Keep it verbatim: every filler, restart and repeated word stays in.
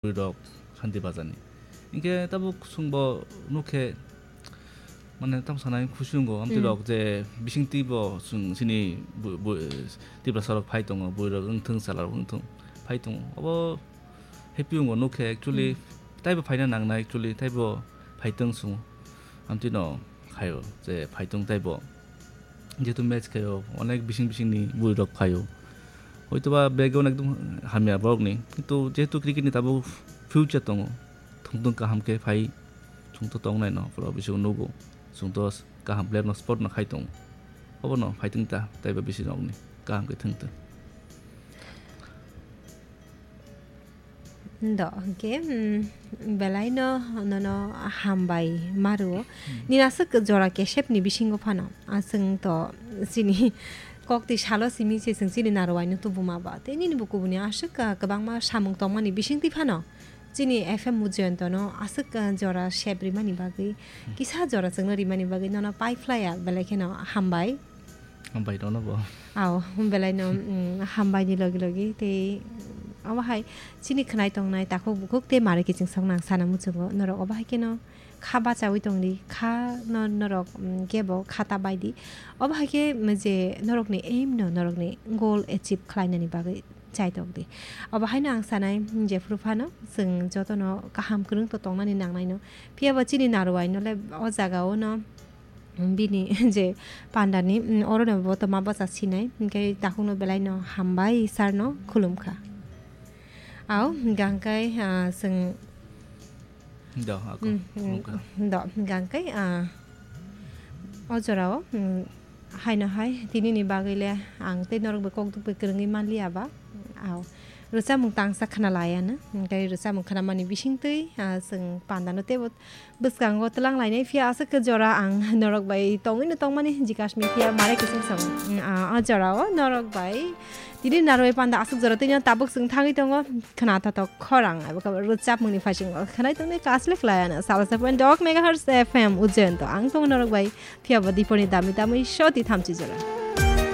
bwrwirok Shanti Bazarni. Hinkhe tabuk chwngbo nukhe, mane, tamo sanai khusi wngo, amtwi Hmm. rok je bisingtwi bo chwng chini bu-, bu-, Tiprasa rok phai tongo, bwrwirok wngthung, chwlarok wngthung, phai tongo. Obo happy wngo nukhe, actually, Hmm. taibo phaina nangnai, actually, taibo phaitwng chwng. Amtwino khaio je phaitwng taibo. Jehetu match khaio, onek bising bisingni bwrwirok phaio. Hoitoba bag-o ekdom hamya borokni, kintu jehetu cricket-ni tabuk future tongo, thwngthwng kaham khe phai, chwngto tongnaino, borok bising nugo, chwngto kaham player-no support no khai tongo. Obono phaitwng ta, taibo bisingni kaham khe thwngtwng. Do, hwnkhe, mm, belaino nono hambai maruo. Hmm. Nini aswk jora kesepni bisingo phano, aswng to chini koktwi salo simi se chwng chini narowaino tubuma ba. Tei nini bo kubuni aswk, ah, kwbangma samung tongmani bisingtwi phano chini F M Mujayantano aswk, ah, jora sep rimani bagwi, Hmm. kisa jora chwngno rimani bagwi nono paiphlaiya, belai kheno hambai. Hambai rokno bo. Aw, belaino, mm, hambaini logi logi tei obo hai chini khwnai tongnai takhuk bukhuk tei mari kiching soknang sana muchungo. Norok obo hai kheno kha bachaui tongdi, kha no norok, mm, kebo kha ta baidi. Obo hai khe, mm, je norokni aim no, norokni goal achieve khlainani bagwi chai tokdi. Obo haino ang sanai, mm, jephuru phano chwng jotono kaham kwrwng to tongnani nangnaino. Phiya bo chini naruwaino le o jagao no bini je pandani, mm, orono bo toma bwsa sinai, hinkhe takhukno belaino hambai sarno khulumkha. Aw, hwnkhe, ah, chwng Do, ako, mm, mm, khulumkha. Do, hwnkhe, ah, o jorao, mm, haino hai, tinini bagwi le ang tei norok bai kok duk bai kwrwngwi manliya ba. Aw, rwchapmung tangsa khna laiya no, hinkhe rwchapmung khnamani bisingtwi, ah, chwng pandano teibo bwskango twlang lainai, phiya aswk khe jora ang norok bai tongwino tongmani jikasmi, phiya mare kiching song. Mm, ah, o jorao norok bai tini narwai panda aswk jora twino tabuk chwng thangwi tongo. Khna thathok khorang abo khe rwchapmungni phaising o khwnai tongnai Kaslik Layana, salo se point dok megahertz F M Ujjain to ang tongo norok bai, phiya bo diponi dami dami soti thamchi jora.